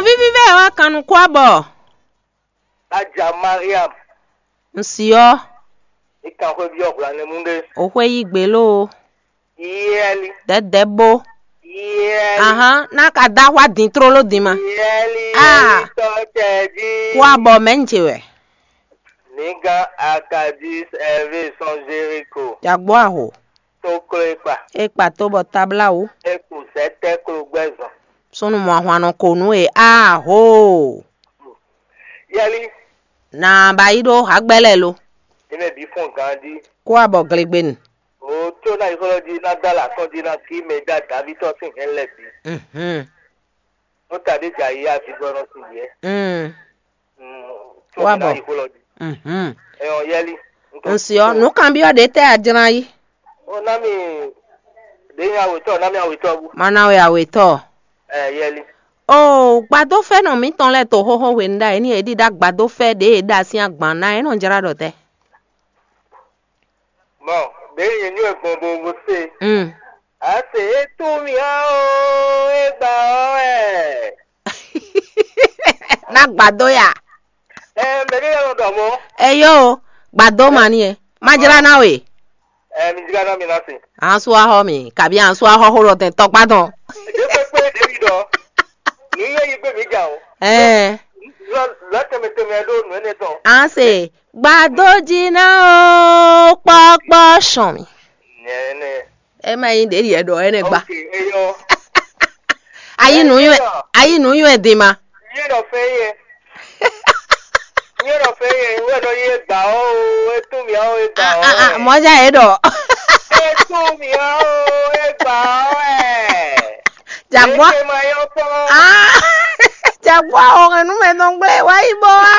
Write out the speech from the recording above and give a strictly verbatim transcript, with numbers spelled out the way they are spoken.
Víví bɛ wá kan nukún abɔ. Aja Mariam. Ŋsi ɔ́. Ikan xwé byɔ́ hwlanɛmú ɖé. O xwé yí gbě ló. Yɛli. Dɛdɛ bó. Yɛli. Ahán, ná ka dá xwá dín tlóló dín ma. Yɛli. Ah. Yɛli tɔ tɛ jí. Kó abɔ mɛ ń ce wɛ. Nígá akadis ɛvé sɔn Jeriko. Jagbó aho. Tó kló é kpa. É kpa tó bɔ táblá wú. É kú sɛ́ tɛ́ klo gbɛ́ zɔn. Súnnu mɔ ahwan nɔ ko nú e. Aho. Yɛli. Na ba yi ɖó hagbɛ́ lɛ́ɛ lo. Ní mɛ bǐ fɔn gán jí. Kó abɔ glegbenu. O tó ná yi xlɔ́ jí ná dó alǎ tɔn jí ná kí mɛ dá Daví tɔn sín hɛn lɛ́ɛ bǐ. Mhm. Ó ta ɖé jà yi azigbɔnɔ sín yɛ. Mm. Mm, tó Wá mi ná bɔ. Yi xlɔ́ jí. Mhm. Ɛ ɔ yɛli. Ŋsi ɔ́, nǔkanbyɔ́ ɖě tɛ́ a jlán yí? Ó ná mi ɖě nya wětɔ́, ná mi awětɔ́ bú. Má ná wɛ awětɔ́. Ɛ yɛli. O gbadófɛ́nɔ mǐtɔn lɛ́ɛ to xóxó hwenu ɖ'ayǐ ní è ɖíɖá gbadófɛ́ ɖě è ɖa sín agban ná é nɔ jlá ɖɔ tɛ́. Bɔn ɖě nyɛ nyɔ́ ɛ gbɔn bo bo se. Mm. A se é tún mì á ó, é gbà ɔ́ wɛ. Ná gbadó ya. Ɛ mɛ ɖé lɛ́ɛ nɔ ɖɔ mɔ̌. Eyó, gbadó ma ni ɛ. Má jlá ná we. Ɛ mi jlá ná mi ná se. Ansú axɔ mi, kabi ansú axɔ xó ɖɔ tɛn tɔkpá tɔn. Ɖé kpékpé ɖě mi ɖɔ. Nǔ yɛ yi gbé mi jà o. Ɛɛ. Lɔ lɔ tɛmɛ tɛmɛ ɖó nǔ énɛ́ tɔn. An se gbadó jí ná ó kpɔ́kpɔ́ sɔn mi. Nyɛ énɛ́. Ɛ má nyí ɖě ɖiɛ ɖɔ énɛ́ gba. Ok, eyɔ. Ayi nǔ nywɛ, ayi nǔ nywɛ din ma. Nyɛ ɖɔ fɛn yɛ. Nyɛ ɖɔ fɛn yɛ wɛ nɔ yɛ gbà ɔ́ o, e tún mì ɔ́ e gbà ɔ́. Mɔ̌ já yě ɖɔ. E tún mì ɔ́ o, e gbà ɔ́ ɛ. Jàgbọ́. Eke ma yɔ kpɔ́n. Ah, jàgbọ́ o, ẹnu mɛ nɔ gblé wá yí bó wá.